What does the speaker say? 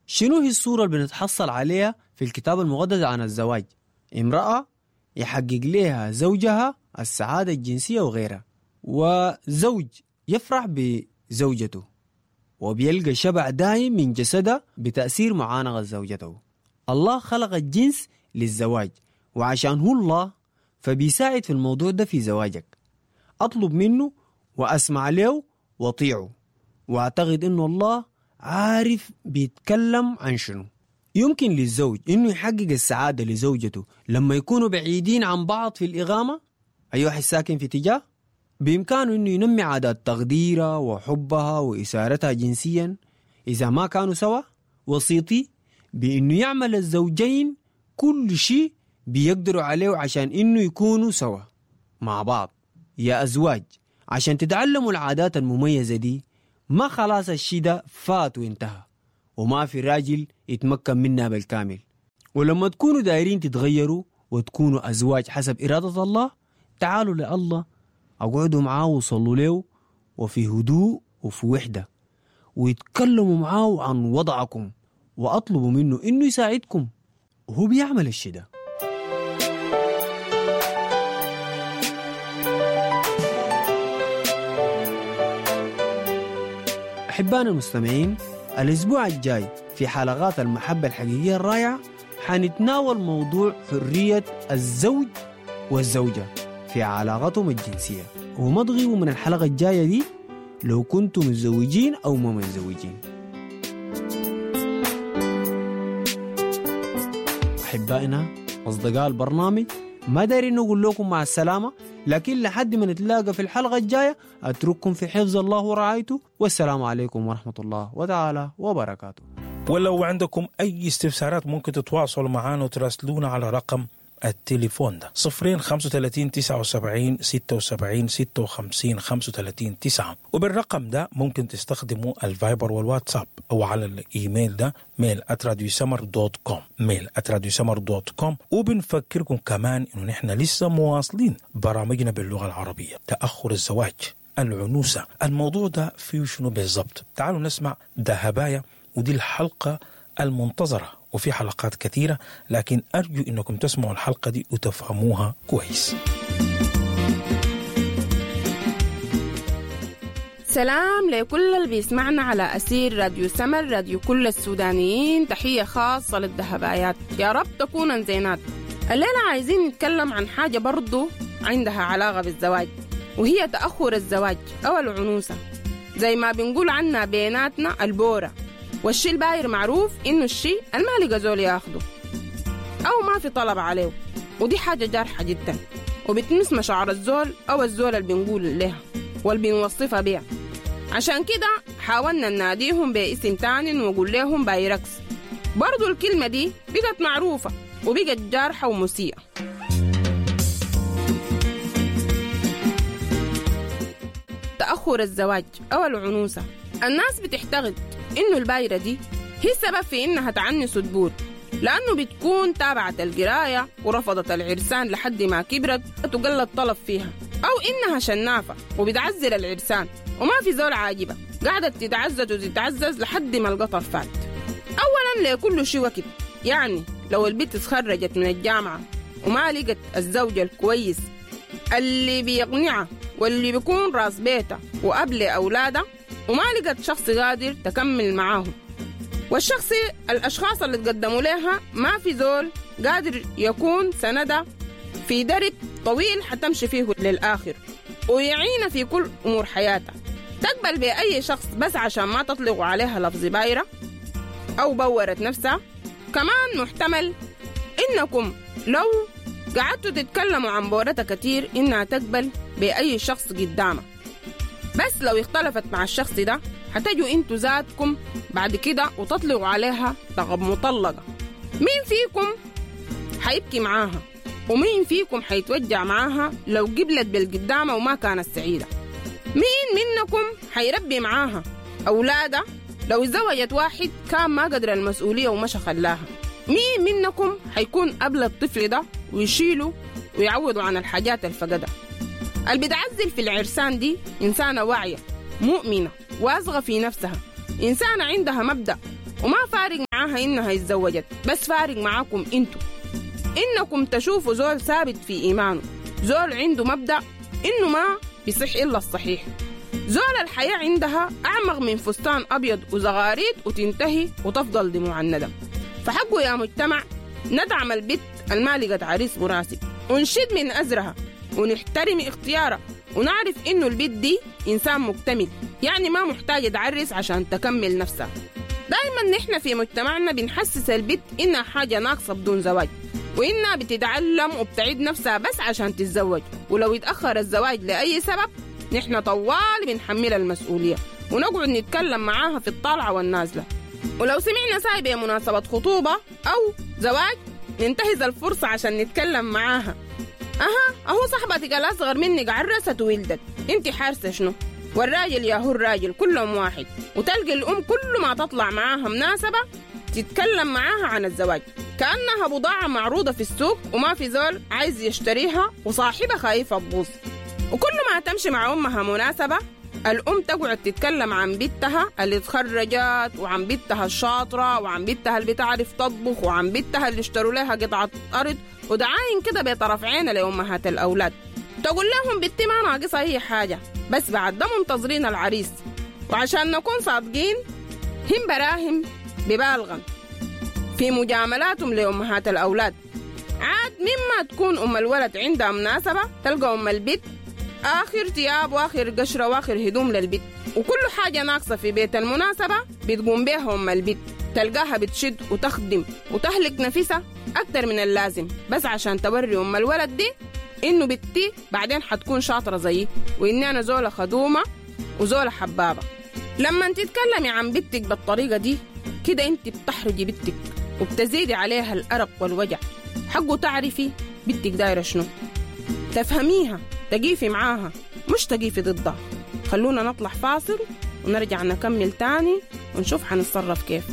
شنو هي الصورة اللي بنتحصل عليها في الكتاب المقدس عن الزواج؟ امرأة يحقق لها زوجها السعادة الجنسية وغيرها، وزوج يفرح بزوجته وبيلقى شبع دائم من جسدها بتأثير معانقة زوجته. الله خلق الجنس للزواج، وعشان هو الله فبيساعد في الموضوع ده في زواجك. أطلب منه وأسمع له وطيعه، وأعتقد إنه الله عارف بيتكلم عن شنو. يمكن للزوج إنه يحقق السعادة لزوجته لما يكونوا بعيدين عن بعض في الإقامة، أي واحد ساكن في اتجاه، بإمكانه إنه ينمي عادات تقديرها وحبها وإثارتها جنسيا إذا ما كانوا سوا. وسيطي بإنه يعمل الزوجين كل شيء بيقدروا عليه عشان إنه يكونوا سوا مع بعض. يا أزواج، عشان تتعلموا العادات المميزة دي، ما خلاص الشي ده فات وانتهى وما في راجل يتمكن منها بالكامل. ولما تكونوا دايرين تتغيروا وتكونوا أزواج حسب إرادة الله، تعالوا لله، اقعدوا معاه وصلوا له وفي هدوء وفي وحدة، ويتكلموا معاه عن وضعكم وأطلبوا منه إنه يساعدكم، وهو بيعمل الشي ده. أحبائنا المستمعين، الأسبوع الجاي في حلقات المحبة الحقيقية الرائعة حنتناول موضوع حرية الزوج والزوجة في علاقتهم الجنسية، وما تغيبوا من الحلقة الجاية دي لو كنتم متزوجين أو ما متزوجين. أحبائنا أصدقاء البرنامج، ما دارين نقول لكم مع السلامة، لكن لحد ما نتلاقى في الحلقة الجاية أترككم في حفظ الله ورعايته، والسلام عليكم ورحمة الله وتعالى وبركاته. ولو عندكم أي استفسارات ممكن تتواصلوا معنا وتراسلونا على رقم التليفون ده 0 35 79 76 56 35 9، وبالرقم ده ممكن تستخدموا الفايبر والواتساب، أو على الإيميل ده mail@radiosummer.com، mail@radiosummer.com. وبنفكركم كمان إنه نحن لسه مواصلين برامجنا باللغة العربية، تأخر الزواج، العنوسة، الموضوع ده فيه شنو بالضبط؟ تعالوا نسمع دهبايا، ودي الحلقة المنتظرة، وفي حلقات كثيرة، لكن أرجو أنكم تسمعوا الحلقة دي وتفهموها كويس. سلام لكل اللي بيسمعنا على أسير راديو سمر، راديو كل السودانيين. تحية خاصة للدهبايات، يا رب تكونن زينات. الليلة عايزين نتكلم عن حاجة برضو عندها علاقة بالزواج، وهي تأخر الزواج أو العنوسة، زي ما بنقول عنها بيناتنا البورة. والشي الباير معروف إنه الشي الما لقى زول ياخده أو ما في طلب عليه، ودي حاجة جارحة جدا وبتمس مشاعر الزول أو الزول اللي بنقول لها واللي بنوصفها بيها. عشان كده حاولنا نناديهم باسم تاني ونقول لهم بايركس. برضو الكلمة دي بقت معروفة وبقت جارحة ومسيئة. تأخر الزواج أو العنوسة، الناس بتعتقد إنه البايرة دي هي السبب في إنها تعنس وتبور، لأنه بتكون تابعت القراية ورفضت العرسان لحد ما كبرت وقل الطلب فيها، أو إنها شنافة وبتعزل العرسان وما في زول عاجبة، قاعدة تتعزز وتتعزز لحد ما القطر فات. أولاً لكل شيء وقت، يعني لو البنت اتخرجت من الجامعة وما لقت الزوج الكويس اللي بيقنعها واللي بيكون راس بيتها وأب لأولادها، وما لقت شخص قادر تكمل معاهم، والشخص الأشخاص اللي تقدموا لها ما في زول قادر يكون سندها في درب طويل حتمشي فيه للآخر ويعينها في كل أمور حياتها. تقبل بأي شخص بس عشان ما تطلقوا عليها لفظ بايرة أو بورت نفسها. كمان محتمل إنكم لو قعدتوا تتكلموا عن بورتها كتير إنها تقبل بأي شخص قدامها، بس لو اختلفت مع الشخص ده هتجوا انتوا ذاتكم بعد كده وتطلقوا عليها لقب مطلقة. مين فيكم حيبكي معاها ومين فيكم حيتوجع معاها لو قبلت بالقدامة وما كانت سعيدة؟ مين منكم حيربي معاها أولادها لو اتزوجت واحد كان ما قدر المسؤولية ومشى خلاها؟ مين منكم حيكون قبل الطفل ده ويشيله ويعوضه عن الحاجات الفقدة؟ اللي بتعزل في العرسان دي إنسانة واعية مؤمنة واثقة في نفسها، إنسانة عندها مبدأ وما فارق معاها معاها إنها اتزوجت، بس فارق معاكم انتو إنكم تشوفوا زول ثابت في إيمانه، زول عنده مبدأ إنه ما بيصح إلا الصحيح، زول الحياة عندها أعمق من فستان أبيض وزغاريد وتنتهي وتفضل دموع الندم. فحقه يا مجتمع ندعم البت المالقة عريس مناسب، ونشد من أزرها ونحترم اختيارها، ونعرف إنه البت دي إنسان مكتمل، يعني ما محتاجة تعرس عشان تكمل نفسها. دايما نحن في مجتمعنا بنحسس البت إنها حاجة ناقصة بدون زواج، وإنها بتتعلم وبتعيد نفسها بس عشان تتزوج، ولو اتأخر الزواج لأي سبب نحن طوال بنحملها المسؤولية ونقعد نتكلم معاها في الطالعة والنازلة. ولو سمعنا ساي بمناسبة خطوبة أو زواج ننتهز الفرصة عشان نتكلم معاها. أها أهو صاحبتك الأصغر منك عرست وولدت، انت حارسة شنو؟ والراجل يا هو الراجل كلهم واحد. وتلقي الأم كل ما تطلع معاها مناسبة تتكلم معاها عن الزواج كأنها بضاعة معروضة في السوق وما في زول عايز يشتريها وصاحبها خايفة تبوظ. وكل ما تمشي مع أمها مناسبة الأم تقعد تتكلم عن بنتها اللي اتخرجت، وعن بنتها الشاطرة، وعن بنتها اللي بتعرف تطبخ، وعن بنتها اللي اشتروا لها قطعة أرض، ودعاين كده بطرف عينها لأمهات الأولاد تقول لهم بنتي ما ناقصها أي حاجة، بس بعد ده منتظرين العريس. وعشان نكون صادقين هم براهم ببالغا في مجاملاتهم لأمهات الأولاد. عاد مما تكون أم الولد عندها مناسبة تلقى أم البيت آخر ثياب وآخر قشرة وآخر هدوم للبيت، وكل حاجة ناقصة في بيت المناسبة بتقوم بيها أم البيت، تلقاها بتشد وتخدم وتهلك نفسها أكتر من اللازم بس عشان توري أم الولد دي إنه بنتي بعدين حتكون شاطرة زيي، وإني أنا زولة خدومة وزولة حبابة. لما تتكلمي عن بنتك بالطريقة دي كده انت بتحرجي بنتك وبتزيدي عليها الأرق والوجع. حقه تعرفي بنتك دايرة شنو، تفهميها، تقيفي معاها مش تقيفي ضدها. خلونا نطلع فاصل ونرجع نكمل تاني ونشوف حنتصرف كيف.